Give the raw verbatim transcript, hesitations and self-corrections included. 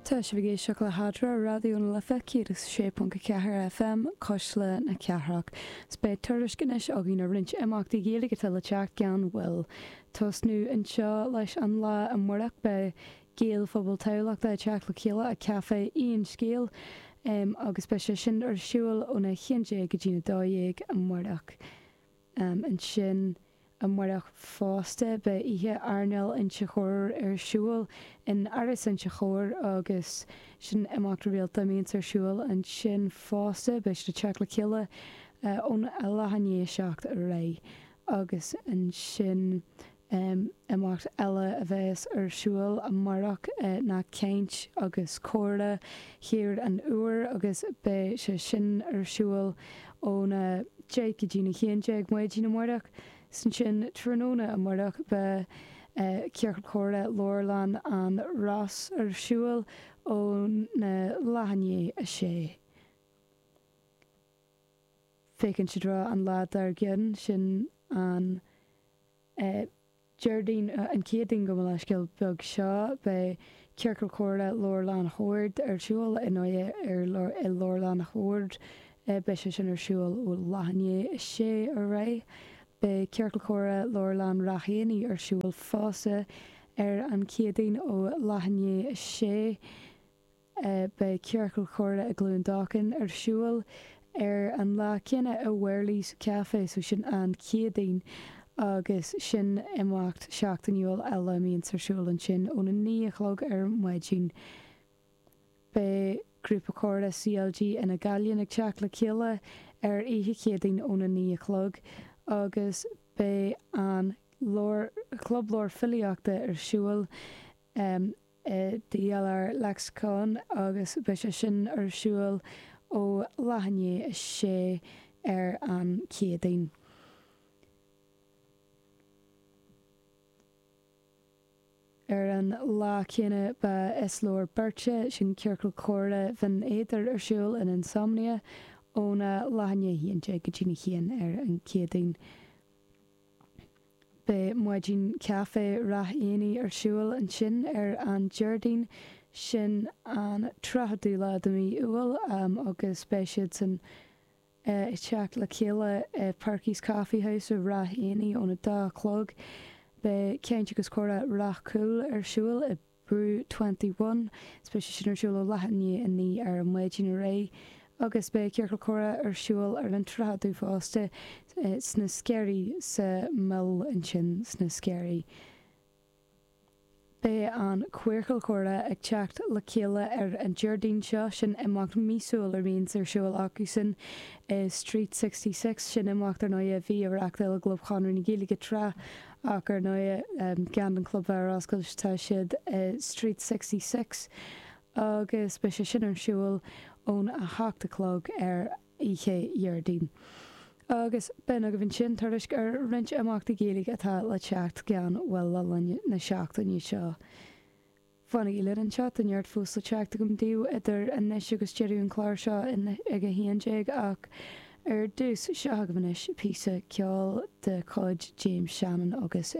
Tá sibh ag éisteacht le hEadra, Raidió na Life céad is sé ponc a ceathair FM, Cuisle na Cathrach. 'S beidh tuairisc anois againn ar roinnt imeachtaí Gaeilge atá le teacht gan mhoill. Tosnú anseo leis an lá amárach beidh Gaelphobal Thamhlachta ag teacht le chéile i Café Aon Scéal agus beidh sé sin ar siúl óna haon déag go dtí a dó dhéag amárach. Ansin amárach fosta beidh oíche airneáil Inse Chór ar siúl in Áras Inse Chór agus sin imeacht rialta a mbíonns ar siúl ansin fosta. Beidh siad ag teacht le chéile ón leath i ndiaidh a seacht ar aghaidh agus ansin imeacht eile a bheas ar siúl amárach ná caint agus comhrá Thír an Iúir agus beidh sé sin ar siúl óna deich go dtí na haon déag maidin amárach. 'S ansin tráthnóna amárach beidh Ciorcal Comhrá Leabharlann an Ros ar siúl óna leath i ndiaidh a sé. Féachaint i dtreo an lá dár gcionn, sin an Déardaoin, an Chéadaoin gabh mo leithscéal beag seo, beidh Ciorcal Comhrá Leabharlann Shoird ar siúl i nDoire ar i Leabharlann Shoird. Beidh sé sin ar siúl ó leath i ndiaidh a sé ar aghaidh. Beidh Ciorcal Comhrá Leabharlann Ráth Éanaigh ar siúl fosta ar an Chéadaoin ó leath i ndiaidh a sé. Beidh Ciorcal Comhrá i gCluain Dolcáin ar siúl ar an lá céanna i Wherley's Café, so sin an Chéadaoin agus sin imeacht seachtainiúil eile a mbíonns ar siúl ansin óna naoi a chlog ar maidin. Beidh Grúpa Comhrá CLG Fhine Gaillimh ag teacht le chéile ar oíche Chéadaoin óna naoi a chlog agus beidh an Club Leabhar Filíochta ar siúl i DLR Lexicon agus beidh sé sin ar siúl ó leath i ndiaidh a sé ar an Chéadaoin. Ar an lá céanna beidh Is Leor Beirt É, sin Ciorcal Comhrá Bhinn Éadair ar siúl in Insomnia óna leath i ndiaidh a haon déag go dtí a haon ar an Chéadaoin. Beidh Maidin Caife Ráth Éanaigh ar siúl ansin ar an Déardaoin, sin an tríochadú lá de mhí Iúil, agus beidh siadsan ag teacht le chéile i Perky's Coffee House i Ráth Éanaigh óna dó a chlog. Beidh Caint agus Comhrá Ráth Cúil ar siúl i Brew Twenty One. Is beidh sé sin ar siúl ó leath i ndiaidh a naoi ar maidin ar aghaidh agus beidh Ciorcal Comhrá ar siúl ar an tríochadú fosta sna Sceirí sa Mill ansin sna Sceirí. Beidh an Queercal Comhrá ag teacht le chéile ar an Déardaoin seo, sin imeacht míosúil a bhíonns ar siúl acusan i Street Sixty Six, sin imeacht ar ndóigh a bhí á reachtáil i gClub Chonradh na Gaeilge tráth Ach ar ndóigh, gan an club bheith ar oscailt, tá siad i Street Sixty Six agus beidh sé sin ar siúl ón a hocht a chlog ar oíche Dhéardaoin. Agus b'in agaibh ansin tuairisc ar roinnt imeachtaí Gaeilge atá le teacht gan mhoill le linn na seachtaine seo. Fanaigí linn anseo, tá neart fós le teacht agam daoibh idir anois agus deireadh an chláir seo ag a haon déag ach ar dtús, seo agaibh anois píosa ceoil de chuid James Shannon agus.